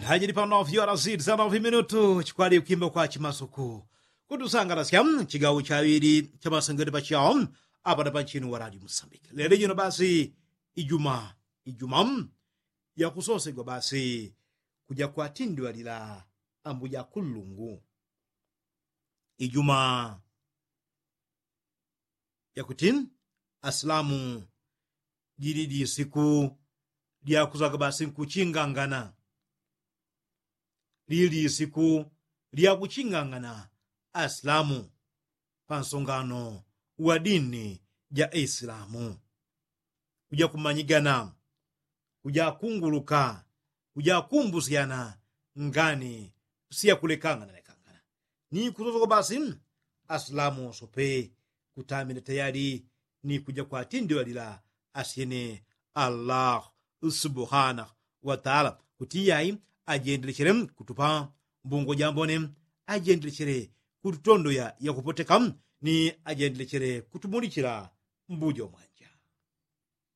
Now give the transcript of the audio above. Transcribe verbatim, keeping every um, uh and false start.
Hajili pano fyora siti sana fiminutu chikwali kwimba kwa chimasuku kutusangalasya chigawo chaŵili chamasengete pachao. Apana panchinu waradi musambike lelo jino basi ijuma ijuma yakusosegwa basi kuja kwatindwalila ambuja kullungu ijuma yakuti asilamu jili lisiku lyakuzaga basi nkuchingangana lili lisiku lyakuchingangana asilamu pansongano wa dini ja isilamu kuja kumanyigana kuja kunguluka kuja kumbusyana ngani siyakulekangana lekangana ni kusosogwa basi asilamu wosope kutamila tayali ni kuja kwatindwalila asyene allah subhanahu wataala kuti yai ajendelechele kutupa mbungo jambone ajendelechele kututondoya yakupoteka ni ajendelechele kutumulichila mbujo mwanja.